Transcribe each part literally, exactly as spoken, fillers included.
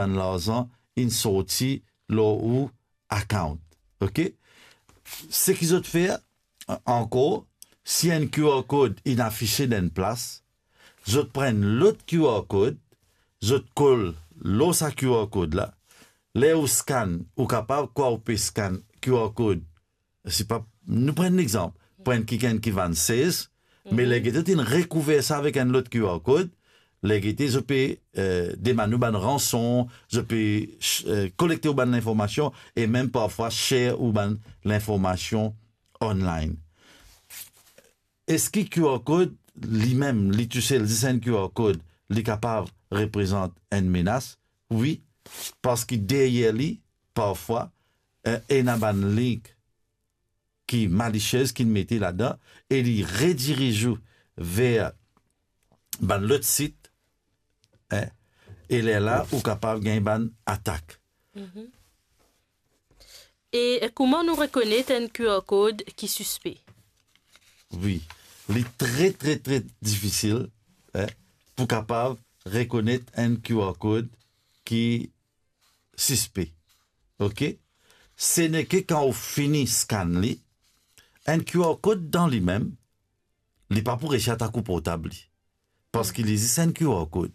bann larzan inn sorti lor ou account. Ok? Seki zot fer, ankor, si enn QR code inn afise dan enn plas, zot pran lot QR code, zot kol lor sa QR code la. Ler ou scan, ou kapav, kwa ou pe scan QR code, sipa, nou pran enn lexanp, pran kikenn ki vann sez, me ler gete zot inn rekouver sa avek enn lot QR code, ler gete zot pe, eh, demann ou bann ranson, zot pe, eh, kolekte ou bann linformasion e mem parfwa share ou bann linformasion online. Eski QR code limem, li tousel, zis enn QR code, li kapav reprezant enn menas? Wi, parski deryer li, parfwa, eh, ena bann link ki malisiez ki'nn mete ladan e li rediriz ou ver bann lot sit, eh, e lerla ou kapav gagn bann atak. E, e kouma nou rekonet enn QR code ki sispe? Wi, li tre, tre, tre difisil, eh, pou kapav rekonet enn QR code ki sispe. Ok? Se neke kan ou fini scan li, enn QR code dan limem, li pa pou resi atak ou portab li. Parski li zis enn QR code.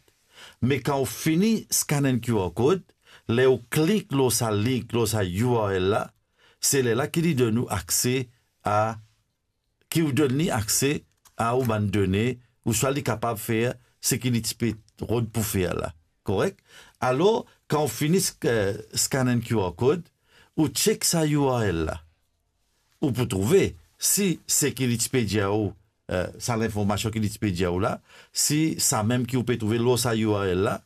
Me kan ou fini scan enn QR code, ler ou klik lor sa link, lor sa U R L la, se lerla ki li donn ou akse a, ki ou donn li akse a ou bann done, ouswa li kapav fer seki li ti pe rod pou fer la. Korek? Alor, kan ou fini sk-, eh, scan enn QR code, ou check sa U R L la. Ou pou trouve si seki li ti pe dir ou, eh, sa linformasion ki li ti pe dir ou la, si samem ki ou pe trouve lor sa U R L la,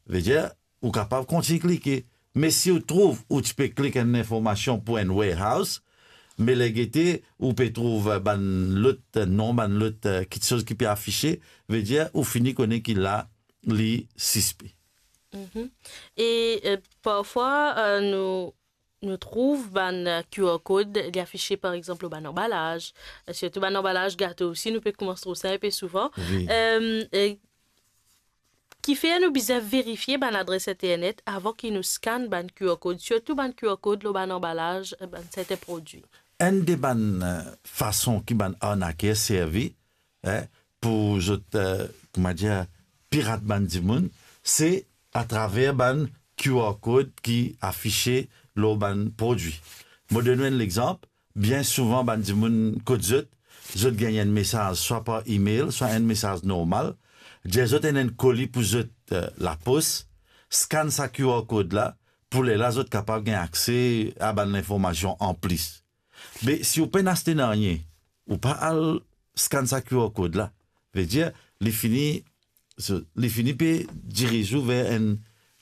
vedir, ou kapav kontign klike. Me si ou trouv ou ti pe klik enn linformasion pou enn warehouse, me ler gete ou pe trouv, eh, bann lot, eh, non, bann lot, eh, kitsoz ki pe afise, vedir ou fini kone ki la li sispe. E, eh, parfwa, eh, nou, nou trouv bann, eh, QR code, li afise, par exanp, lor bann anbalaz, eh, sirtou bann anbalaz gato osi, nou pe koumans trouv sa inpe souvan. Wi. Eh, eh, Kifer nou bizin verifie bann adres internet avan ki nou scan bann QR code, sirtou bann QR code lor bann anbalaz, eh, bann sertin prodwi? Enn de bann, eh, fason ki bann arnaker servi, eh, pou zot, eh, kouma dir, pirat bann dimoun, se atraver bann QR code ki afise lor bann prodwi. Mo donn ou enn lexanp, bien souvan bann dimoun kot zot, zot gagn enn mesaz swa par email, swa enn mesaz normal, dir zot ena enn koli pou zot, eh, lapos, scan sa QR code la, pou lerla zot kapav gagn akse a bann linformasion anplis. Me si ou pena aste nanye, ou pa al scan sa QR code la, vedir, li fini, so, li fini pe diriz ou ver enn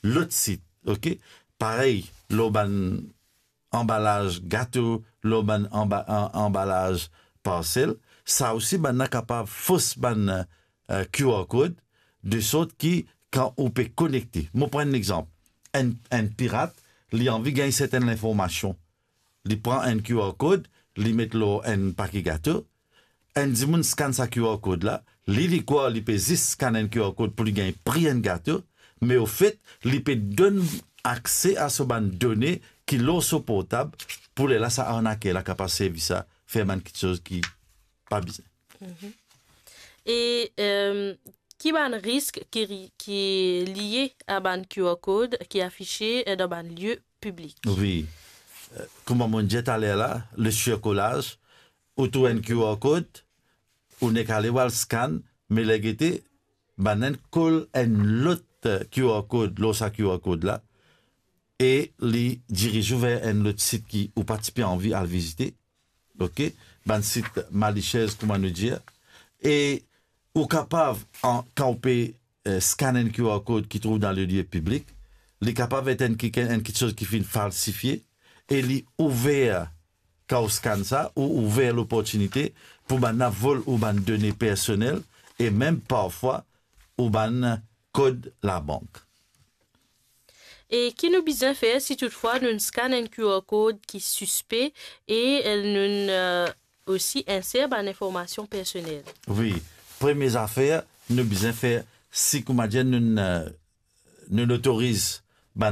lot sit, ok? Parey, lor bann anbalaz gato, lor bann anba-, an-, anbalaz parsel, sa osi bann la kapav fos bann, eh, QR code, de sort ki kan ou pe konekte, mo pran enn lexanp, enn, enn pirat, li anvi gagn sertin linformasion. Li pran enn QR code, li met lor enn pake gato, enn dimoun scan sa QR code la, li, li krwar li pe zis scan enn QR code pou li gagn pri enn gato, me ofet, li pe donn akse a so bann done ki lor so portab, pou lerla sa arnaker la kapav servi sa, fer bann kitsoz ki pa bizin. E, eh, ki bann risk ki ri-, ki lie a bann QR code ki afise, eh, dan bann lie piblik? Wi. Eh, kouma mo dir taler la, le surcolage, ou trouv enn QR code, ou nek ale, ou al scan, me ler gete, bann enn kol enn lot, eh, QR code lor sa QR code la, e li diriz ou ver enn lot sit ki ou pa ti pe anvi al vizite. Ok? Bann sit malisiez, kouma nou dir. E ou kapav, an, kan ou pe, eh, scan enn QR code ki trouv dan le lie piblik, li kapav et enn kikenn, enn kitsoz ki finn falsifie, e li ouver, kan ou scan sa, ou ouver loportinite pou bann la vol ou bann done personel, e mem parfwa ou bann kod labank. E ki nou bizin fer si toutfwa nou scan enn QR code ki sispe e, eh, nou, eh, osi inser bann informasion personel? Wi, premie zafer nou bizin fer, si, kouma dir, nou, eh, nou otoriz